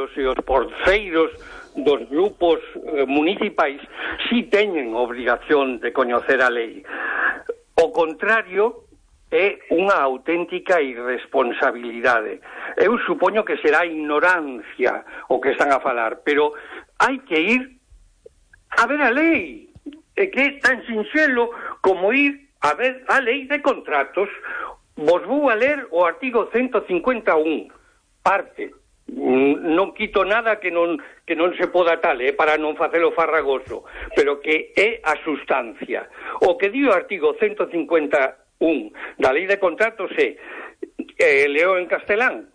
concelleiros e os porceiros dos grupos municipais si teñen obrigación de coñecer a lei. O contrario é unha auténtica irresponsabilidade. Eu supoño que será ignorancia o que están a falar, pero hai que ir a ver a lei. É que é tan sinxelo como ir a ver a lei de contratos. Vos vou a ler o artigo 151, parte. Non quito nada que non se poda tal, para non facelo farragoso, pero que é a sustancia. O que di o artigo 151 da lei de contratos é, leo en castelán,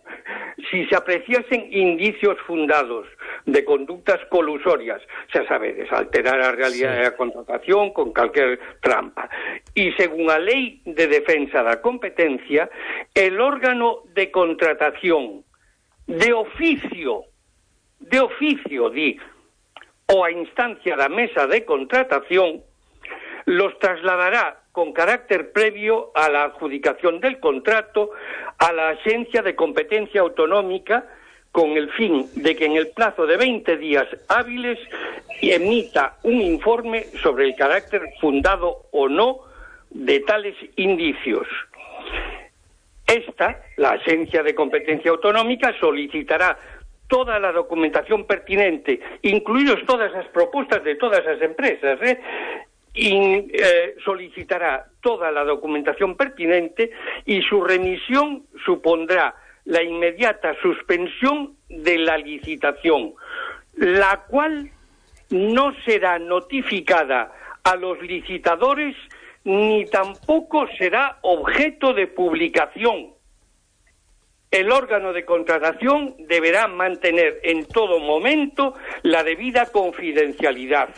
si se apreciasen indicios fundados de conductas colusorias, xa sabedes, alterar a realidade da contratación con calquer trampa, e según a lei de defensa da competencia, el órgano de contratación de oficio, di, o a instancia da mesa de contratación, los trasladará con carácter previo a la adjudicación del contrato a la Agencia de Competencia Autonómica con el fin de que en el plazo de 20 días hábiles emita un informe sobre el carácter fundado o no de tales indicios. La Agencia de Competencia Autonómica, solicitará toda la documentación pertinente, incluidos todas las propuestas de todas las empresas, solicitará toda la documentación pertinente y su remisión supondrá la inmediata suspensión de la licitación, la cual no será notificada a los licitadores ni tampoco será objeto de publicación. El órgano de contratación deberá mantener en todo momento la debida confidencialidad.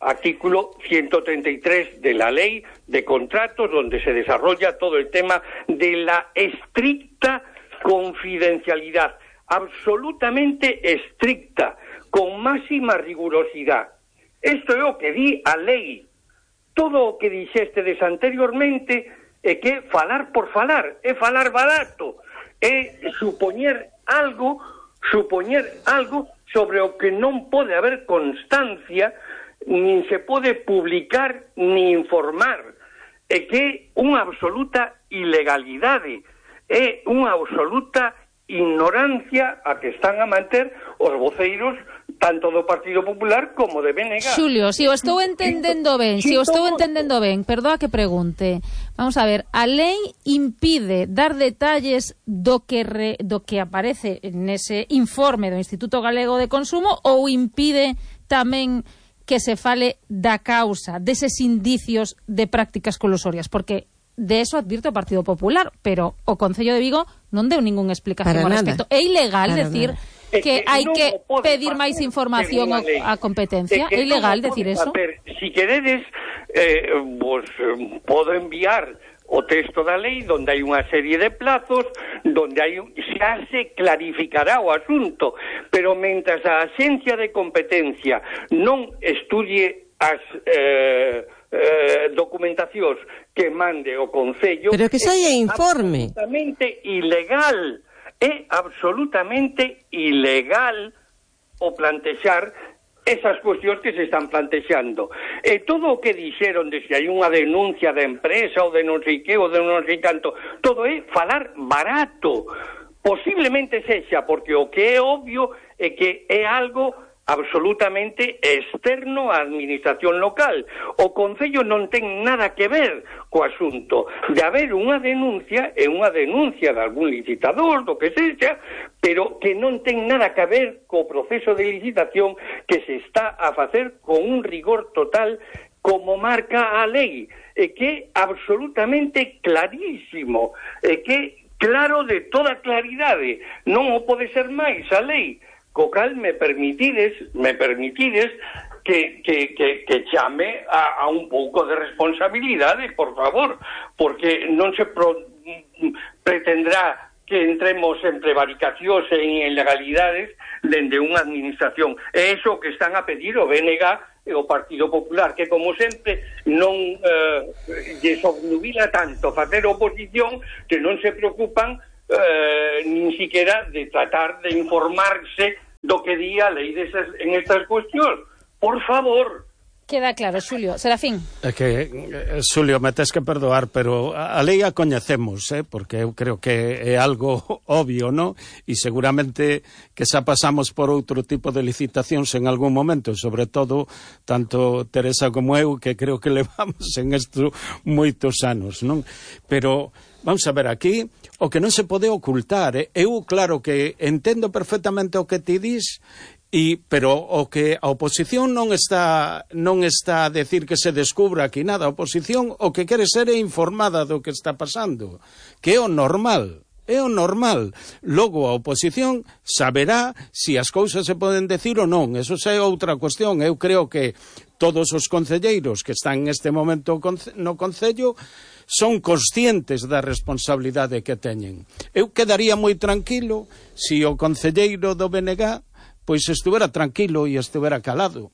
Artículo 133 de la Ley de Contratos, donde se desarrolla todo el tema de la estricta confidencialidad, absolutamente estricta, con máxima rigurosidad. Isto é o que di a lei. Todo o que dixestedes anteriormente é que falar por falar, é falar barato, é supoñer algo sobre o que non pode haber constancia, nin se pode publicar ni informar. É que é unha absoluta ilegalidade, é unha absoluta ignorancia a que están a manter os voceiros tanto do Partido Popular como de BNG. Xulio, si o estou entendendo ben, perdoa que pregunte. Vamos a ver, a lei impide dar detalles do que aparece nese informe do Instituto Galego de Consumo ou impide tamén que se fale da causa, deses indicios de prácticas colusorias? Porque de eso advirte o Partido Popular, pero o Concello de Vigo non deu ningunha explicación ao respecto. É ilegal decir que hai que pedir máis información á competencia? É ilegal decir eso? Si queredes, vos podo enviar o texto da lei onde hai unha serie de plazos onde xa se clarificará o asunto, pero mentras a Axencia de Competencia non estudie as documentacións que mande o Concello, pero que saia informe. É absolutamente ilegal o plantexar esas cuestións que se están plantexando. E todo o que dixeron de se hai unha denuncia de empresa ou de non sei que, ou de non sei canto, todo é falar barato. Posiblemente sexa, porque o que é obvio é que é algo absolutamente externo á administración local. O Concello non ten nada que ver co asunto. De haber unha denuncia, é unha denuncia de algún licitador, do que sexa, pero que non ten nada que ver co proceso de licitación que se está a facer con un rigor total como marca a lei. É que é absolutamente clarísimo, é que claro de toda claridade. Non o pode ser máis a lei. Co cal me permitides que chame a un pouco de responsabilidade, por favor, porque non se pretendrá que entremos en prevaricacións e en ilegalidades dende unha administración. É iso que están a pedir o BNG e o Partido Popular, que como sempre non lles obnubila tanto facer oposición que non se preocupan nin siquiera de tratar de informarse do que di a lei en estas cuestións. Por favor. Queda claro, Xulio. Serafín. É que, Xulio, me tes que perdoar, pero a lei a coñecemos, porque eu creo que é algo obvio, non? E seguramente que xa pasamos por outro tipo de licitacións en algún momento, sobre todo, tanto Teresa como eu, que creo que levamos en isto moitos anos, non? Pero vamos a ver aquí, o que non se pode ocultar, eu claro que entendo perfectamente o que ti dis, pero o que a oposición non está a decir que se descubra aquí nada. A oposición o que quere ser é informada do que está pasando, que é o normal. É o normal. Logo a oposición saberá se as cousas se poden decir ou non. Eso xa é outra cuestión. Eu creo que todos os concelleiros que están neste momento no Concello son conscientes da responsabilidade que teñen. Eu quedaría moi tranquilo se o concelleiro do BNG pois estuvera tranquilo e estuvera calado.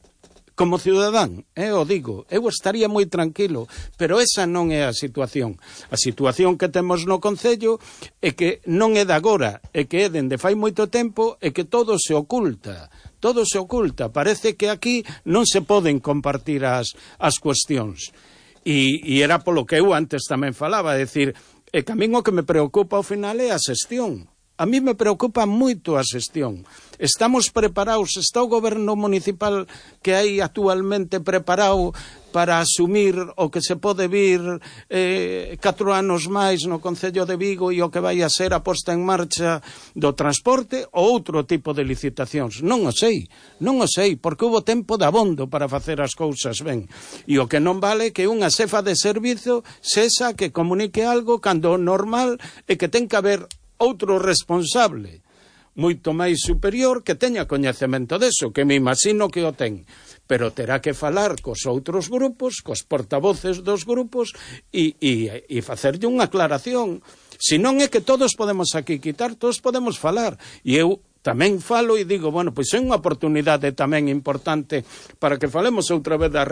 Como cidadán, o digo, eu estaría moi tranquilo, pero esa non é a situación. A situación que temos no Concello é que non é de agora, é que é dende fai moito tempo e que todo se oculta. Todo se oculta. Parece que aquí non se poden compartir as cuestións. E era polo que eu antes tamén falaba, é dicir, que a min o que me preocupa ao final é a xestión. A mí me preocupa moito a xestión. Estamos preparados, está o goberno municipal que hai actualmente preparado para asumir o que se pode vir 4 anos máis no Concello de Vigo e o que vai a ser a posta en marcha do transporte ou outro tipo de licitacións. Non o sei, porque houve tempo de abondo para facer as cousas ben. E o que non vale que unha xefa de servizo sexa que comunique algo cando o normal é que ten que haber outro responsable moito máis superior que teña coñecemento deso, que me imagino que o ten, pero terá que falar cos outros grupos, cos portavoces dos grupos e facerlle unha aclaración. Se non é que todos podemos aquí quitar, todos podemos falar, e eu tamén falo e digo, bueno, pois é unha oportunidade tamén importante para que falemos outra vez da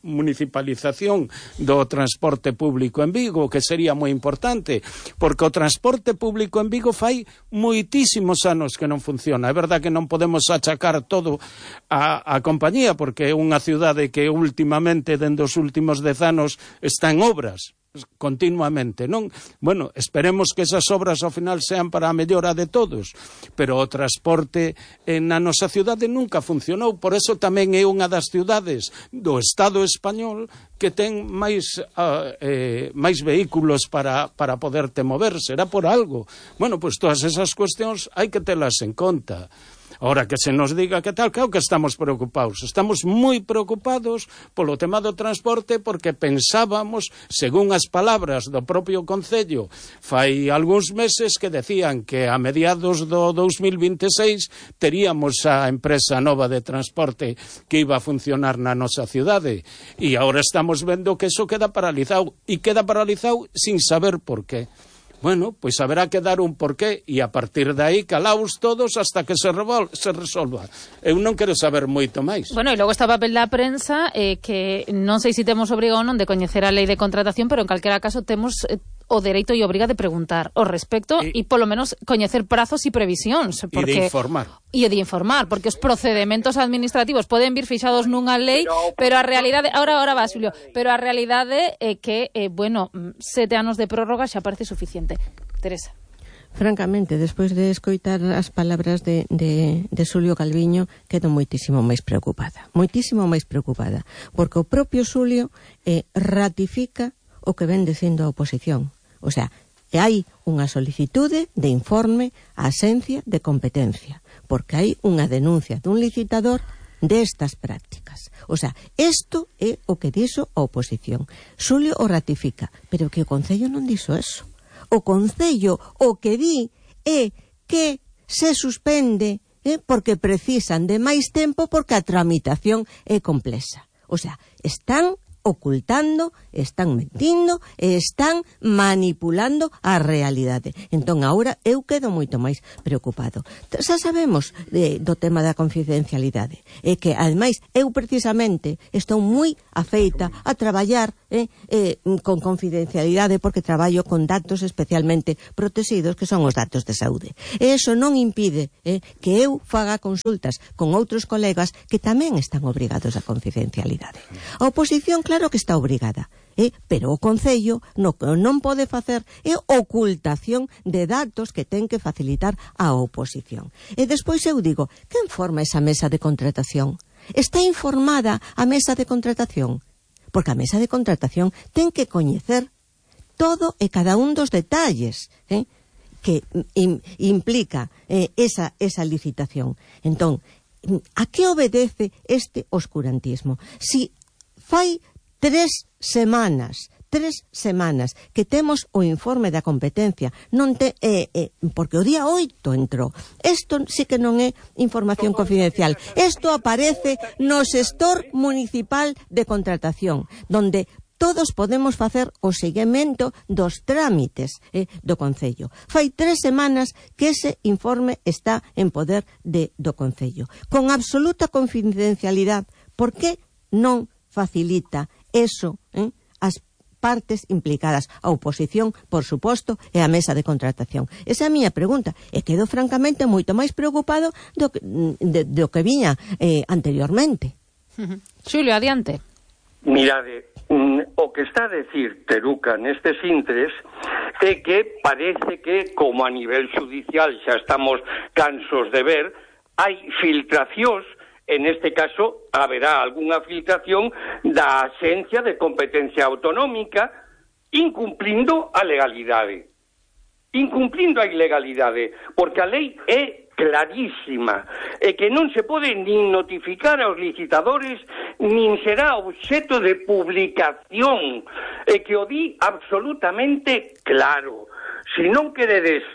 municipalización do transporte público en Vigo, que sería moi importante, porque o transporte público en Vigo fai moitísimos anos que non funciona. É verdad que non podemos achacar todo a compañía, porque é unha cidade que últimamente, dende os últimos 10 anos, está en obras continuamente, non? Bueno, esperemos que esas obras ao final sean para a mellora de todos, pero o transporte na nosa cidade nunca funcionou, por eso tamén é unha das cidades do Estado español que ten máis vehículos para poderte mover, será por algo. Bueno, pois todas esas cuestións hai que telas en conta. Ahora, que se nos diga que tal, claro que estamos preocupados. Estamos moi preocupados polo tema do transporte porque pensábamos, según as palabras do propio Concello, fai algúns meses que decían que a mediados do 2026 teríamos a empresa nova de transporte que iba a funcionar na nosa cidade. E agora estamos vendo que eso queda paralizado. E queda paralizado sin saber por qué. Bueno, pois haberá que dar un porqué e a partir de aí calaos todos hasta que se resolva. Eu non quero saber moito máis. Bueno, e logo está o papel da prensa que non sei se temos obriga ou non de coñecer a lei de contratación, pero en calquera caso temos o dereito e obriga de preguntar ao respecto e polo menos coñecer prazos e previsións. Porque, e de informar. E de informar, porque os procedementos administrativos poden vir fixados nunha lei, pero a realidade... Ahora va, Xulio. Pero a realidade é que, 7 anos de prórroga xa parece suficiente. Teresa. Francamente, despois de escoitar as palabras de Xulio Calviño, quedo moitísimo máis preocupada, porque o propio Xulio ratifica o que ven dicindo a oposición. O sea, hai unha solicitude de informe á Axencia de Competencia, porque hai unha denuncia dun licitador destas prácticas. O sea, isto é o que dixo a oposición. Xulio o ratifica, pero que o Concello non dixo eso. O Concello o que di é que se suspende porque precisan de máis tempo porque a tramitación é complexa. O sea, están ocultando, están mentindo e están manipulando a realidade. Entón, agora eu quedo moito máis preocupado. Xa sabemos do tema da confidencialidade. É que, ademais, eu precisamente estou moi afeita a traballar con confidencialidade porque traballo con datos especialmente protegidos, que son os datos de saúde. E iso non impide que eu faga consultas con outros colegas que tamén están obrigados a confidencialidade. A oposición, claro que está obrigada, pero o Concello non pode facer ocultación de datos que ten que facilitar a oposición. E despois eu digo, quen forma esa mesa de contratación? Está informada a mesa de contratación? Porque a mesa de contratación ten que coñecer todo e cada un dos detalles que implica esa licitación. Entón, a que obedece este oscurantismo? Si fai 3 semanas que temos o informe da competencia, porque o día 8 entrou. Isto sí que non é información confidencial. Isto aparece no xestor municipal de contratación, donde todos podemos facer o seguimento dos trámites do Concello. Fai 3 semanas que ese informe está en poder do Concello. Con absoluta confidencialidade. Por que non facilita eso as partes implicadas, a oposición, por suposto, e a mesa de contratación? Esa é a miña pregunta. E quedo francamente moito máis preocupado do que viña anteriormente. Xulio, adiante. Mirade, o que está a decir Teruca nestes intres é que parece que, como a nivel judicial xa estamos cansos de ver, hai filtracións. En este caso, haberá algunha filtración da Axencia de Competencia Autonómica incumplindo a legalidade. Incumplindo a ilegalidade, porque a lei é clarísima, e que non se pode nin notificar aos licitadores, nin será obxeto de publicación, e que o di absolutamente claro. Se non queredes,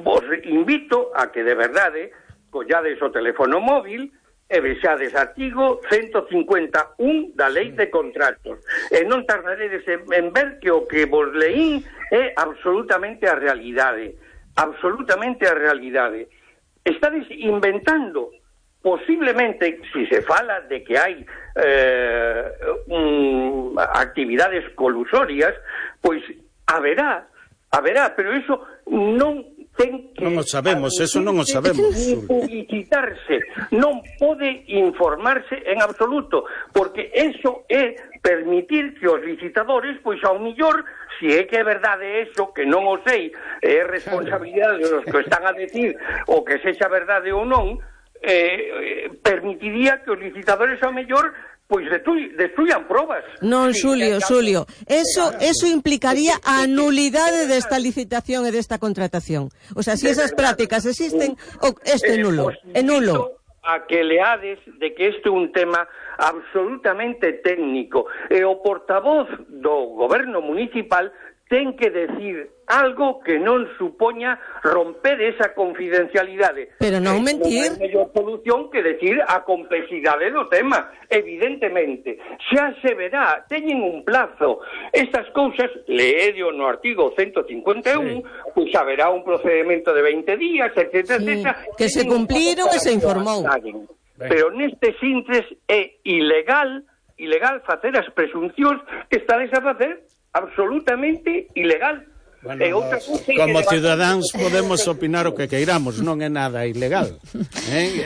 vos invito a que de verdade collades o teléfono móvil e vexades artigo 151 da Lei de Contratos. E non tardaredes en ver que o que vos leín é absolutamente a realidade. Absolutamente a realidade. Estades inventando, posiblemente, si se fala de que hai actividades colusorias, pois haberá, pero eso non ten que... Non o sabemos, eso non o sabemos. Publicitarse, non pode informarse en absoluto, porque eso é permitir que os licitadores, pois ao millor, se é que é verdade eso, que non o sei, é responsabilidade dos que están a decir, o que sexa verdade ou non, permitiría que os licitadores ao mellor pois destruyan probas. Non, Xulio, eso implicaría a nulidade desta licitación e desta contratación. O sea, se esas prácticas existen, este é nulo. É nulo. A que leades de que este é un tema absolutamente técnico, e o portavoz do goberno municipal ten que decir algo que non supoña romper esa confidencialidade. Pero non mentir. Non é mellor solución que decir a complexidade do tema, evidentemente. Xa se verá, teñen un plazo. Estas cousas, leedio no artigo 151, pois haberá un procedimento de 20 días, etc. Que se cumpliron e se informou. Pero nestes intres é ilegal facer as presuncións que estades a facer, absolutamente ilegal. Bueno, como cidadáns podemos opinar o que queiramos, non é nada ilegal.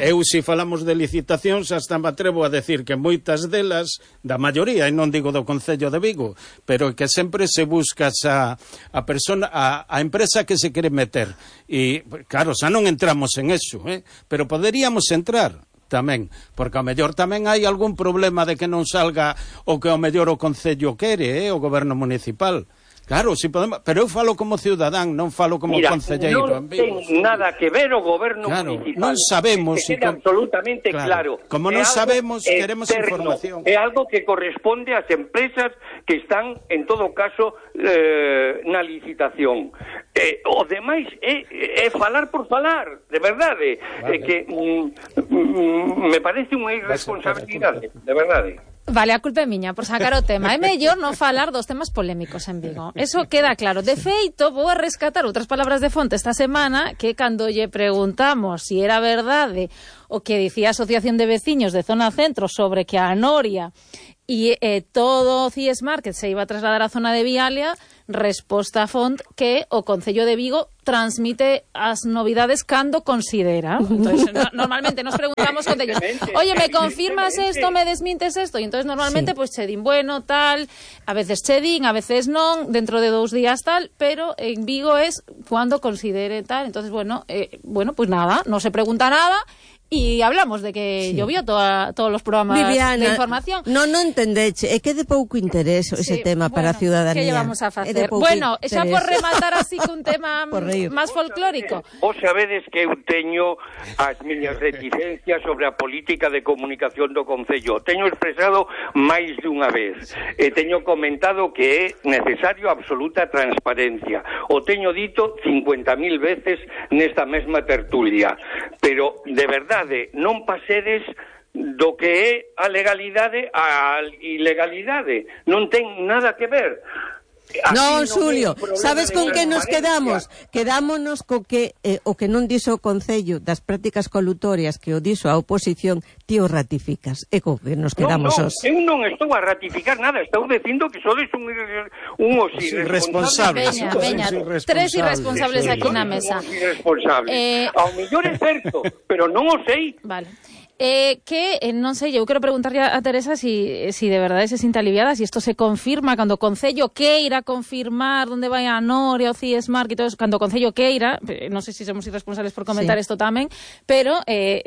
Eu, se falamos de licitacións, hasta me atrevo a decir que moitas delas, da maioría, e non digo do Concello de Vigo, pero que sempre se busca a persona, a empresa que se quere meter. E, claro, xa non entramos en eso, pero poderíamos entrar tamén, porque ao mellor tamén hai algún problema de que non salga o que ao mellor o Concello quere, o goberno municipal. Claro, si podemos, pero eu falo como cidadán, non falo como concelleiro. Non ten nada que ver o goberno municipal. Non sabemos que quede absolutamente claro. Como non sabemos, queremos información. É algo que corresponde ás empresas que están, en todo caso, na licitación. O demais é falar por falar, de verdade. Vale. Que me parece unha irresponsabilidade, de verdade. Vale, a culpa é miña por sacar o tema. É mellor non falar dos temas polémicos en Vigo. Eso queda claro. De feito, vou a rescatar outras palabras de fonte esta semana, que cando lle preguntamos si era verdade o que dicía a Asociación de Veciños de Zona Centro sobre que a Noria e todo o CIES Market se iba a trasladar á zona de Vialia, resposta a font que o Concello de Vigo transmite as novidades cando considera. Entonces, normalmente nos preguntamos concellos, oye, ¿me confirmas esto, me desmintes esto? Y entonces normalmente pues che din, bueno, tal, a veces che din, a veces non, dentro de 2 días tal, pero en Vigo es cuando considere tal. Entonces, bueno, pues nada, no se pregunta nada. Y hablamos de que llovió todos los programas Viviana, de información. Non entendeche, é que de pouco interés ese tema para a ciudadanía. Que llevamos a facer? Bueno, xa por rematar así cun tema máis folclórico. Vos sabedes que eu teño as miñas reticencias sobre a política de comunicación do Concello. Teño expresado máis dunha vez. E teño comentado que é necesario absoluta transparencia. O teño dito 50.000 veces nesta mesma tertulia. Pero, de verdade, non pasedes do que é a legalidade a ilegalidade. Non ten nada que ver. Non, Xulio, sabes con que nos quedamos? Quedámonos co que o que non dixo o Concello das prácticas colutorias que o dixo a oposición, ti o ratificas. É co que nos quedamos os. Eu non estou a ratificar nada, estou dicindo que sodes uns irresponsables. Veña, 3 irresponsables aquí na mesa. Ao mellor é certo, pero non o sei. Vale. Non sei, eu quero preguntarle a Teresa si de verdade se sinta aliviada, si isto se confirma cando o Concello queira confirmar onde vai a Noria, o CIES Market, cando o Concello queira, non sei se somos irresponsables por comentar isto tamén, pero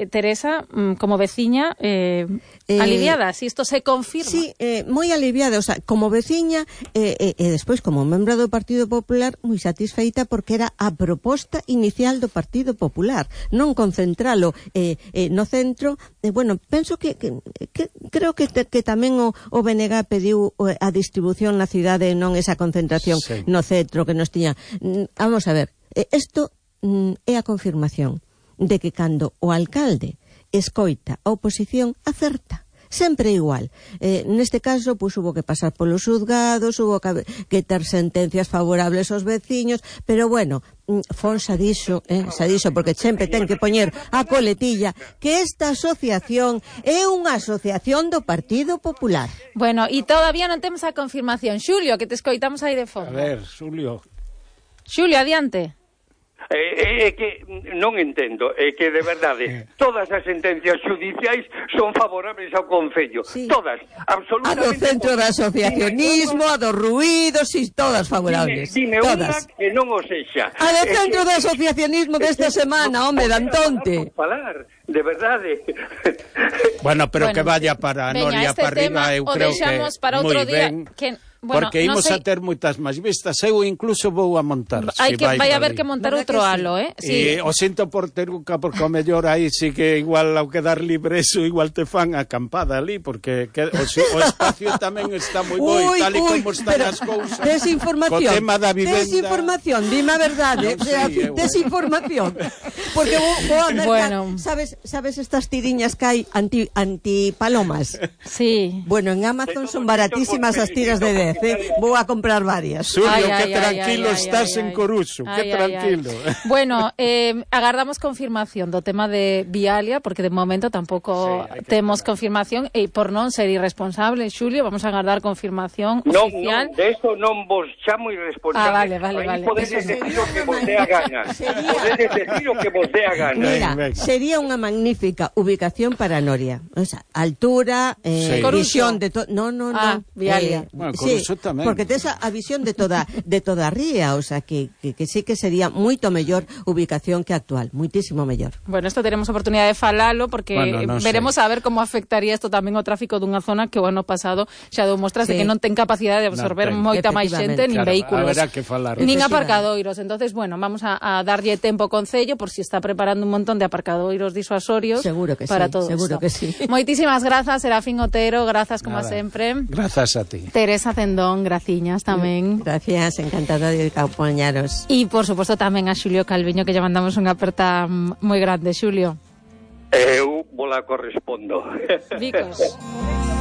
Teresa, como veciña, aliviada, si isto se confirma. Sí, moi aliviada, o sea, como veciña e despois como membro do Partido Popular, moi satisfeita porque era a proposta inicial do Partido Popular, non concentralo no centro. Bueno, penso que creo que tamén o BNG pediu a distribución na cidade, non esa concentración no centro que nos tiña. Vamos a ver, isto é a confirmación de que cando o alcalde escoita a oposición, acerta. Sempre igual. Neste caso, pois hubo que pasar polos xuzgados, hubo que ter sentencias favorables aos veciños, pero bueno, Fonsa dixo, porque sempre ten que poñer a coletilla, que esta asociación é unha asociación do Partido Popular. Bueno, e todavía non temos a confirmación. Xulio, que te escoitamos aí de fondo. A ver, Xulio. Xulio, adiante. É que non entendo, é que de verdade todas as sentencias judiciais son favorables ao Concello, todas, absolutamente. A do centro do asociacionismo, a dos ruídos, e todas favorables. Dime todas. Unha que non o sexa. A do centro do asociacionismo desta semana, home, Dantonte. Falar, de verdade. Bueno, pero que vaya para Noria para arriba, eu creo que moi ben. Porque imos a ter moitas máis vistas. Eu incluso vou a montar. Vai haber que montar outro halo, E o sinto por Teruca, porque o mellor aí sí que igual ao quedar libre eso, igual te fan acampada ali, porque o espacio tamén está moi bo e tal e como están as cousas. Desinformación. Co tema da vivenda. Desinformación, dime a verdade. Desinformación. Porque vou a mercar, sabes estas tiriñas que hai antipalomas? Sí. Bueno, en Amazon son baratísimas as tiras de vou a comprar varias. Xulio, que tranquilo estás en Coruxo, que tranquilo. Bueno, agardamos confirmación do tema de Vialia, porque de momento tampouco temos confirmación, e por non ser irresponsable, Xulio, vamos a agardar confirmación oficial. Non, de eso non vos chamo irresponsable. Vale. Podedes decir o que vos dé a gana. Podedes decir o que vos dé a gana. Mira, sería unha magnífica ubicación para Noria. O sea, altura, visión de todo. No. Vialia. Sí, porque tes a visión de toda a ría, o sea, que sí que sería moito mellor ubicación que actual, muitísimo mellor. Bueno, isto teremos oportunidade de falalo, porque veremos a ver como afectaría isto tamén ao tráfico dunha zona que o ano pasado xa dou mostras de que non ten capacidade de absorber moita máis xente, nin vehículos, nin aparcadoiros. Entonces, bueno, vamos a darlle tempo ao Concello por si está preparando un montón de aparcadoiros disuasorios para todo isto. Seguro que sí. Moitísimas grazas, Serafín Otero, grazas como sempre. Grazas a ti. Teresa Cendón, graciñas tamén. Gracias, encantada de acompañaros. E, por suposto, tamén a Xulio Calviño, que lle mandamos unha aperta moi grande. Xulio. Eu vos la correspondo. Vicos.